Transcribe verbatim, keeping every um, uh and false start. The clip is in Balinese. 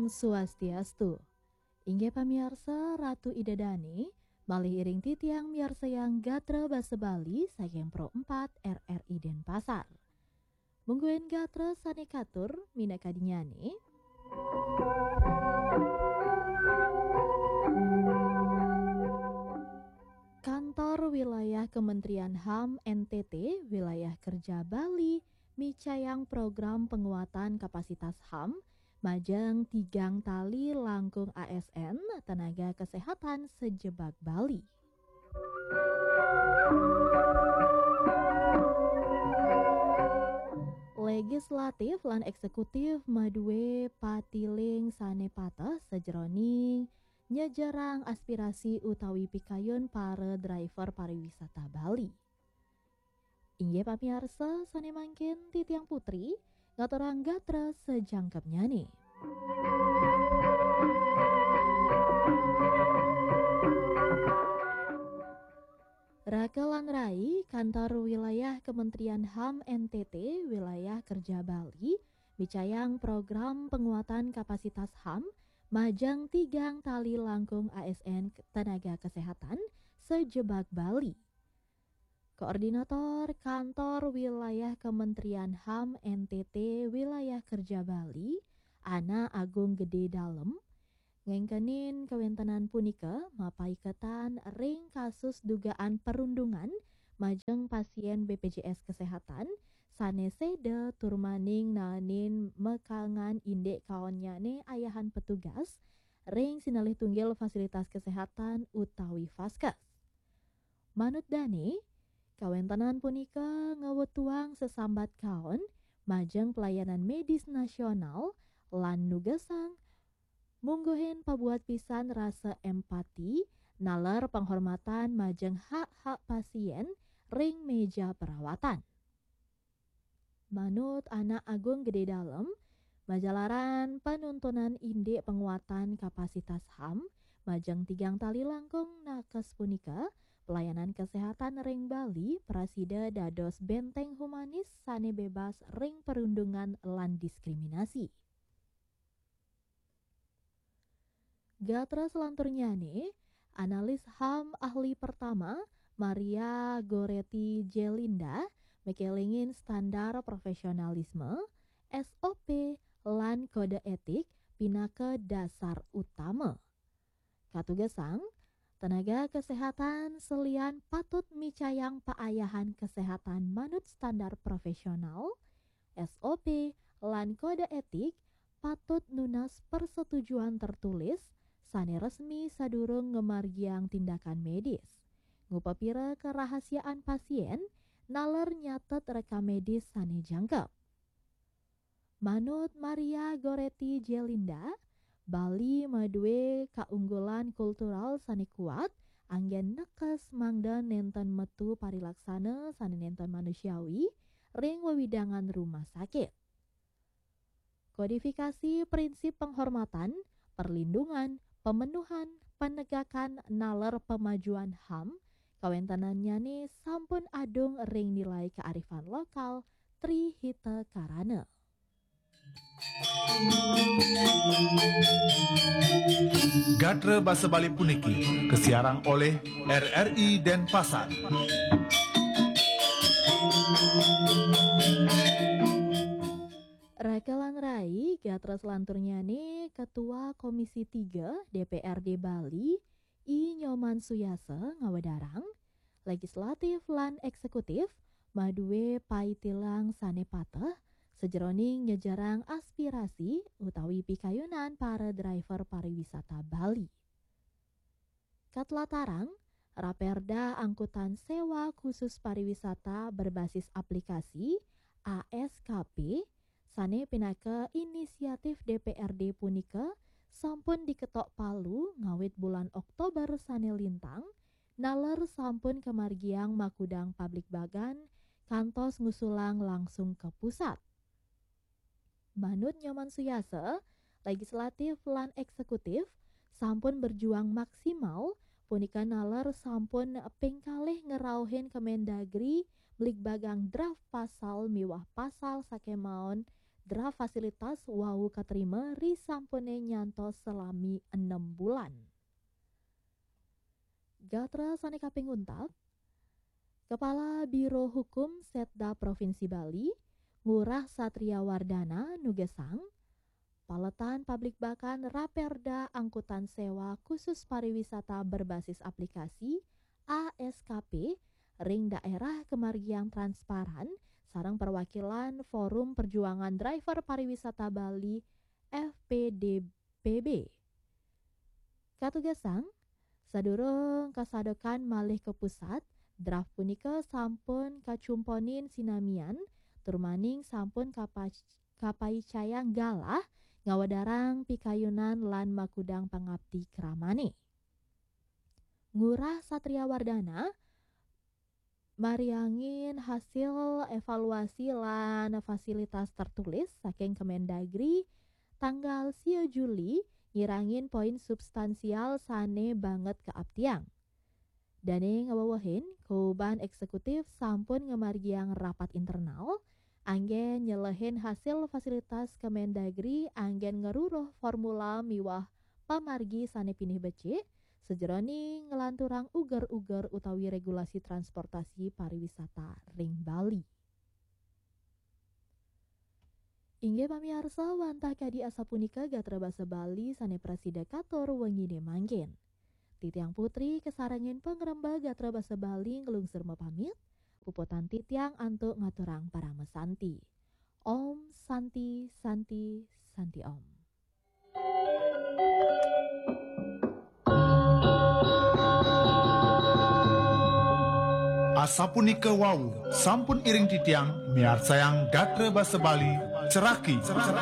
Swastiastu. Inggih pamiarsa, Ratu Ida Dane, malih iring titiang miarsayang gatra basa Bali saking Pro empat R R I Denpasar. Mungguing gatra sane katur minakadinyane. Kantor Wilayah Kementerian HAM N T T Wilayah Kerja Bali micayang program penguatan kapasitas HAM majeng tigang tali langkung A S N tenaga kesehatan sejebag Bali. Legislatif lan eksekutif madue patiling sane pateh sajeroning nyejerang aspirasi utawi pikayun para driver pariwisata Bali. Inggih pamiarsa, sane mangkin titiang Putri ngaturang gatra sajangkepnyane. Raka lan rai, Kantor Wilayah Kementerian HAM N T T Wilayah Kerja Bali micayang program penguatan kapasitas HAM majeng tigang tali langkung A S N tenaga kesehatan sejebag Bali. Koordinator Kantor Wilayah Kementerian HAM N T T Wilayah Kerja Bali, Ana Agung Gede Dalem, ngengkenin kawentenan punika mapaiketan ring kasus dugaan perundungan majeng pasien B P J S Kesehatan sane seda turmaning naenin mekangan indik kaonnyane ayahan petugas ring sinalih tunggil fasilitas kesehatan utawi faskes. Manut dane, kawentenan punika ngawetuang sesambat kaon majeng pelayanan medis nasional lan nugesang mungguhin pabuat pisan rasa empati naler penghormatan majeng hak-hak pasien ring meja perawatan. Manut Ana Agung Gede Dalem, majalaran panuntunan indik penguatan kapasitas HAM majeng tigang tali langkung nakes punika, pelayanan kesehatan ring Bali prasida dados benteng humanis sane bebas ring perundungan lan diskriminasi. Gatra selanturnyane, analis HAM ahli pertama, Maria Goretti Jelinda, mekelingin standar profesionalisme, S O P, lan kode etik pinaka dasar utama. Katugesang, tenaga kesehatan selian patut micayang paayahan kesehatan manut standar profesional, S O P, lan kode etik patut nunas persetujuan tertulis sane resmi sadurung ngamargiang tindakan medis. Ngupapira kerahasiaan pasien naler nyatet rekam medis sane jangkep. Manut Maria Goretti Jelinda, Bali madue kaunggulan kultural sane kuat, anggen nekes mangda nenten metu parilaksana sane nenten manusiawi ring wewidangan rumah sakit. Kodifikasi prinsip penghormatan, perlindungan, pemenuhan, penegakan naler pemajuan HAM, kawentenannyane sampun adung ring nilai kearifan lokal Tri Hita Karana. Gatra basa Bali puniki kasiarang oleh R R I Denpasar. Raka lan rai, gatra selanturnyane Ketua Komisi tiga D P R D Bali, I Nyoman Suyasa ngawedarang, legislatif lan eksekutif madue paitilang sane pateh sajeroning nyejerang aspirasi utawi pikayunan para driver pariwisata Bali. Katlatarang, Raperda Angkutan Sewa Khusus Pariwisata Berbasis Aplikasi, A S K P, sane pinaka inisiatif D P R D punika sampun diketok palu ngawit bulan Oktober sane lintang, naler sampun kamargiang makudang pabligbagan kantos ngusulang langsung ka pusat. Manut Nyoman Suyasa, legislatif lan eksekutif sampun berjuang maksimal, punika naler sampun ping kalih ngrauhin Kemendagri bligbagang draft pasal miwah pasal sakemaon Draft fasilitas wau katerima ri sampune nyantos salami enem bulan. Gatra sane kaping untat, Kepala Biro Hukum Setda Provinsi Bali, Ngurah Satria Wardana nugesang, paletan pabligbakan Raperda Angkutan Sewa Khusus Pariwisata Berbasis Aplikasi, A S K P, ring daerah kamargiang transparan, sareng perwakilan Forum Perjuangan Driver Pariwisata Bali, F P D P B. Katugesang, sadurung kasadekan malih ka pusat, draft punika sampun kacumponin sinamian, tur maning sampun kapac-, kapaicayang galah ngawedarang pikayunan lan makudang pangapti kramane. Ngurah Satria Wardana mariangin hasil evaluasi lan fasilitas tertulis saking Kemendagri tanggal sia Juli, nyirangin poin substansial sane banget kaaptiang. Dane ngawewehin, kawibahan eksekutif sampun ngamargiang rapat internal, anggen nyelehin hasil fasilitas Kemendagri anggen ngruruh formula miwah pamargi sane pinih becik, sajeroning nglanturang uger-uger utawi regulasi transportasi pariwisata ring Bali. Inggih pamiarsa, wantah kadi asapunika gatra basa Bali sane prasida katur wengine mangkin. Titiang Putri kasarengin pangrembag gatra basa Bali nglungsur mapamit, puputang titiang antuk ngaturang parama santi. Om Santi, Santi, Santi Om. Asapunika wau, sampun iring titiang miarsayang gatra basa Bali, ceraki.